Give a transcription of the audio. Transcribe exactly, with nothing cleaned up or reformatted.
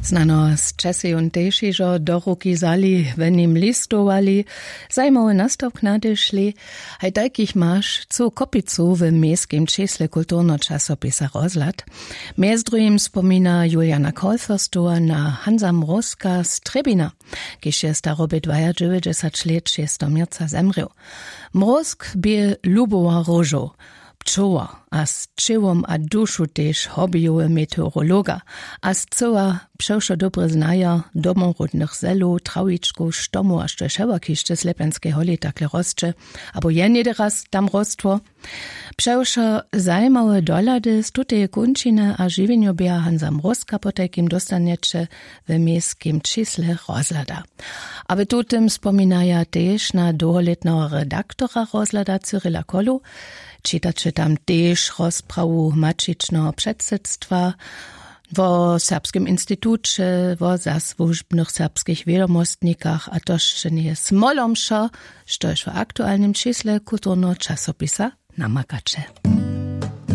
Znano z česejun tež hižo do ruki wzali, w nim listowali, zajimawy nastawk nadešli. Haj tajkich maš cołu kopicu w měskim čisle kulturneho časopisa Rozhlad. Mjez druhim spomina Juliana Kolferstowa na Hansa Mrózka z Trjebina, kiž je starobje dwajadźewjećdźesat lět šesteho měrca zemrěł. Mrózk bě lubowa róžow, pčoła, a z ćěłom a dušu tež hobbyjowy meteorologa, a scyła přewšo dobre znaja domoródnych zelow, trawičkow, štomow a štož hewak hišće w Slepjanskej holi takle rosće, abo je něhdy raz tam rostło. Přewšo zajimawe dohlady z tuteje kónčiny a žiwjenjoběha Hansa Mrózka potajkim dóstanjeće w měskim čisle Rozhlada. A w tutym spominaja tež na dołholětneho redaktora Rozhlada Cyrila Kolu. Čitaće tam tež rozprawu maćičneho předsydstwa wo Serbskim instituće, wo zasłužbnych serbskich wědomostnikach a to sće njeje smolomšo, štož w aktualnym čisle kulturneho časopisa namakaće.